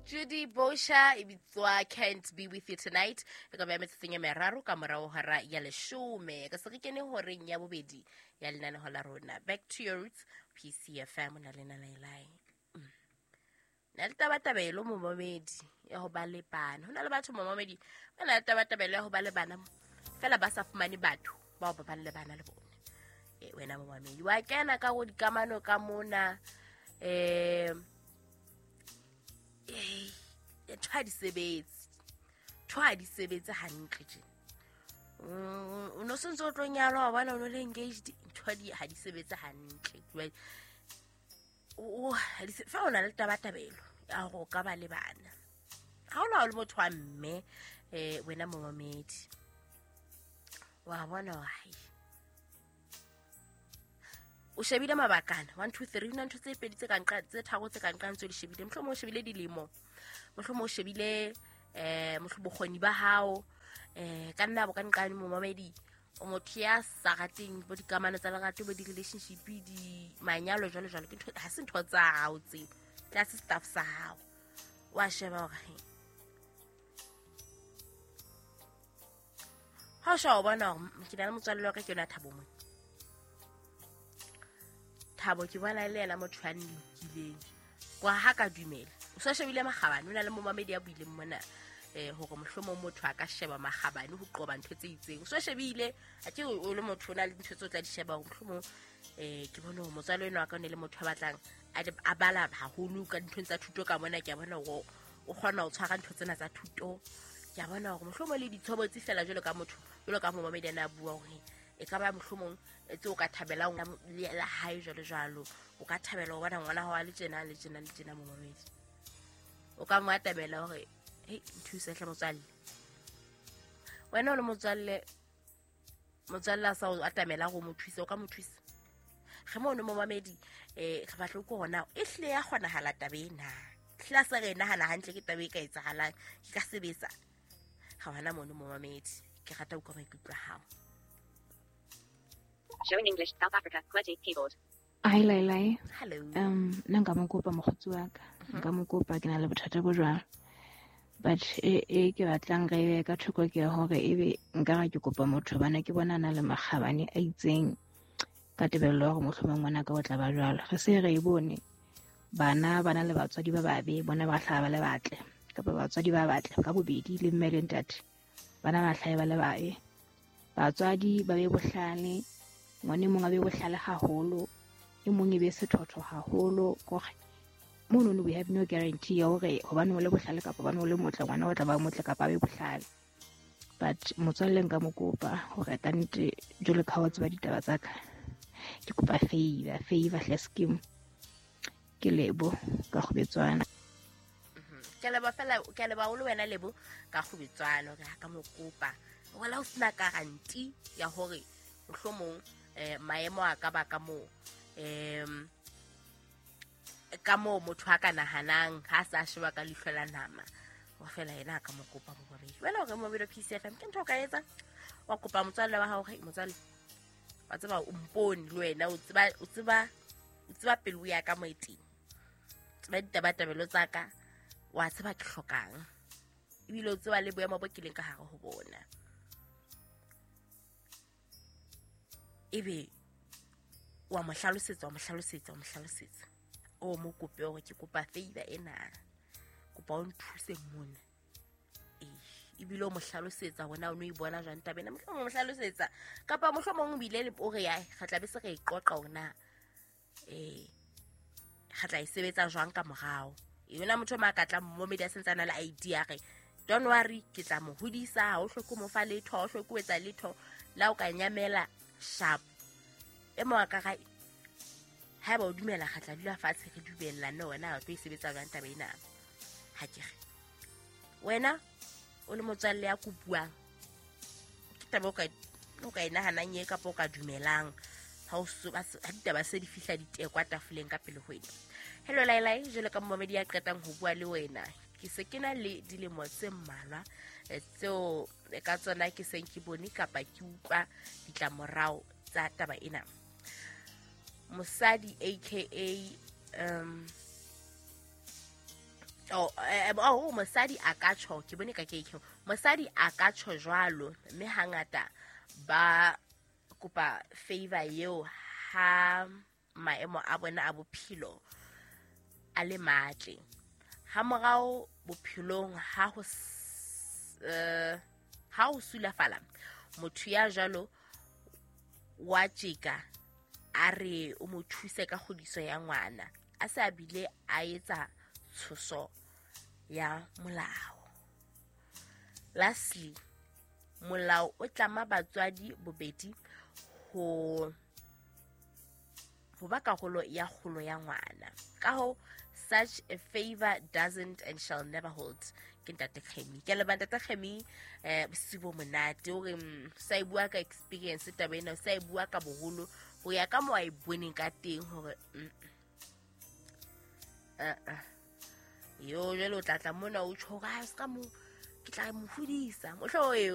Judy Bosha e bitswa Can't Be With You Tonight. E ka ba metsotsong e meraro ka morao hora ya leshome. Ka se re kene horeng ya bobedi ya lenaneho la rona. Back to your roots, PCFM o na le nalaelai. Na le tabatabelo momamedi ya ho ba le bana. Ho na le batho momamedi ba na le tabatabelo ya ho ba le bana fela ba sa fumane batho bao ba bang le bana le bona. Wena momamedi wa kena ka go dikamano ka mona ntho ha di sebetse, ntho ha di sebetse hantle tje. O no sentse o tlo nyalwa wa bona o no le engaged, ntho ha di sebetse hantle. Fa o na le tabatabelo ya hore o ka ba le bana, ha o na o le motho wa mme wena momamedi wa bona hai o shebile mabakana 1 2 3 na ntho tse pedi tse ka nqa tse tharo tse ka nqang tse di shebile. Mohlomong o shebile dilemo, mohlomong o shebile mohlomong bokgoni ba hao ka nna bo ka nqane momamedi o motho ya sa rateng bo dikamano tsa lerato bo di-relationship di manyalo jwalo jwalo, ke ntho ha se ntho tsa hao tse tlase staff sa hao. Wa sheba hore ha o sheba o bona hore ke na le motswalle wa ka ke yona Thabo mona. Thabo ke bona le yena motho a nlokileng kwa ha ka dumela. O sa shebile makgabane, o na le momamedi ya buileng mona hore mohlomong motho a ka sheba makgabane ho qoba ntho tse itseng. O sa shebile a ke o le motho o na le ntho tse o tla di sheba hore mohlomong ke bone hore motswalo enwa wa ka o ne le motho a batlang a bala haholo ka dinthong tsa thuto ka mona. Ke a bona hore o kgona ho tshwara ntho tsena tsa thuto. Ke a bona hore mohlomong le ditshobotsi fela jwalo ka motho, jwalo ka momamedi ana a bua hore e ka ba mohlomong tse o ka thabelang la hae jwalo jwalo. O ka thabela ho bona ngwana hao a le tjena le tjena le tjena momamedi. O ka mo atamela hore hei nthuse hle motswalle. Wena o le motswalle, motswalle a sa o atamela hore o mo thuse, o ka mo thusa. Re mono momamedi re batla ko hona e hlile ya kgonahala taba ena. Hlile a se re e nahana hantle ke taba e ka etsahalang, ke ka sebetsa. Ga hona mono momamedi, ke rata ho utlwa maikutlo a hao. Showing English, South Africa, QWERTY keyboard. Hi, Lailai. Hello. Nna nka mo kopa mokgotsi wa ka. Nka mo kopa, ke na le bothata bo jwalo. But e ke batlang re be ka thoko ke ya hore ebe nka ra ke kopa motho bana ke bona na le makgabane a itseng ka tebello ya hore mohlomong ngwana ka o tla ba jwalo. Re se re e bone bana ba na le batswadi ba babe, bona ba hlaha ba le batle kapa batswadi ba batle ka bobedi le mme le ntate, bana ba hlahe ba le babe. Batswadi ba be bohlale, ngwane mong a be bohlale haholo, e mong e be sethotho haholo. Kore mono we have no guarantee ya hore hobane o le bohlale kapa hobane o le motle ngwana o tla ba motle kapa a be bohlale. But motswalle nka mo kopa hore kannete jwalo ka ha o tseba ditaba tsa ka, ke kopa favor hle scheme. Ke Lebo ka Kgobetswana. Ke leboha fela, ke leboha haholo wena Lebo ka Kgobetswana hore ha ka mo kopa. Wala o sena guarantee ya hore mohlomong maemo a ka ba ka moo ka moo motho a ka nahanang ha sa sheba ka leihlo la nama. Wa fela yena a ka mo kopa momamedi. Wena hore momamedi wa PCFM ke ntho o ka etsa, wa kopa motswalle wa hao hore motswalle wa tseba o mpone le wena o tseba pelo ya ka mo e teng, tseba ditabatabelo tsa ka, wa tseba ke hlokang ebile o tseba le boemo bo ke leng ka hare ho bona. Ebe wa mo hlalosetsa, o mo kope hore ke kopa favor ena, kopa o nthuse mona. Ebile o mo hlalosetsa hore na o no e bona jwang taba ena. Mohlomong o mo hlalosetsa kapa mohlomong o bile o re ya re tla be se re e qoqa hore na re tla e sebetsa jwang ka morao. Yona motho ma ka tla momedi a sentse a na le idea re don't worry ke tla mo hodisa, ha o hloke mo fa letho, ha o hloke ho etsa letho, la o ka nyamela sharp. E mo a ka ra haeba o dumela re tla dula fatshe re dumellane wena o tlo e sebetsa jwang taba ena. Ha ke re wena o le motswalle ya kopuang ke taba o ka e nahanang e kapa o ka dumelang ha ditaba se di fihla ditekwa tafoleng ka pele ho wena. Hello Lailai, jwalo ka momamedi ya qetang ho bua le wena, ke se ke na le dilemo tse mmalwa tseo ka tsona ke seng ke bone kapa ke utlwa ditlamorao tsa taba ena. Mosadi aka Oh, mosadi a ka tjho, ke bone ka ke mosadi a ka tjho jwalo, mme hangata ba kopa favor eo ha maemo a bona a bophelo a le matle. Ha morao bophelong ha ho sulafala, motho ya jwalo wa tjeka a re o mo thuse ka kgodiso ya ngwana, a se a bile a etsa tshoso ya molao. Lastly, molao o tlama batswadi bobedi ho ba karolo ya kgolo ya ngwana. Ka ho, such a favor doesn't and shall never hold. Ke Ntate Kgemi. Ke leboha Ntate Kgemi, bosiu bo monate. O re sa e bua ka experience taba ena, sa e bua ka boholo ho ya ka mo a e boneng ka teng hore yo jwale o tla tla mona o tjho hore, "Ah, ska mo ke tla mo hodisa." Mohlo eo